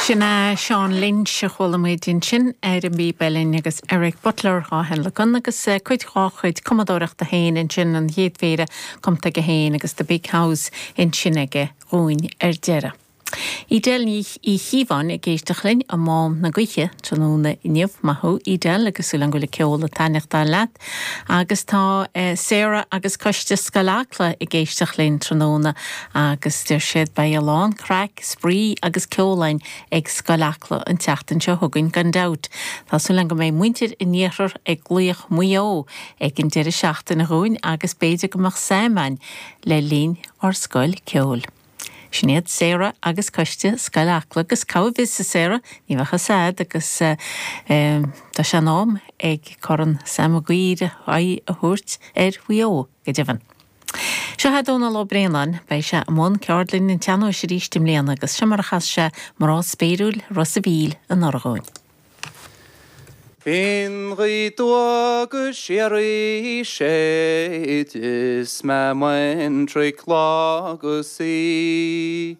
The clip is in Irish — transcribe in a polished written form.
Sin é Seán Lynch a chuala muid ansin ar an bpíb uilleann agus Eric Butler á thionlacan agus cuid dhá chuid cumadóireachta féin ansin, an chéad phéire cumtha aige féin agus The Big House ansin aige dhúinn ar deireadh. Edel Ní Chíobháin ag éisteacht linn i Mám na Gaoithe tráthnóna inniu. Maith thú, Edel, agus súil agam go bhfuil an ceol ag taitneachtáil leat. Agus tá Sarah agus Coiste Scoil Acla ag éisteacht linn tráthnóna agus deir siad beidh a lán craic, spraoi agus ceol againn ag Scoil Acla an tseachtain seo chugainn gan dabht. Tá súil agam go mbeidh muintir an iarthair ag glaoch Maigh Eo ag an deireadh seachtaine dhúinn agus b'fhéidir go mbeadh Sam againn le linn ár scoil ceoil. Sin iad Sarah agus Coiste Scoil Acla agus cá bhfios a Sarah, ní bheadh fhios a'd agus tá sé in am ag Corn Sam Maguire aghaidh a thabhairt ar Mhaigh Eo, go deimhin. Seo é Dónal Ó Braonáin, beidh sé i mbun ceardlann an tsean-nóis arís i mbliana agus seo mar a chas sé Mná Spéiriúil Ros a' Mhíl anuraidh dhúinn. Bíonn gaoth aduaidh go síoraí séid is mé baintreach lá agus í.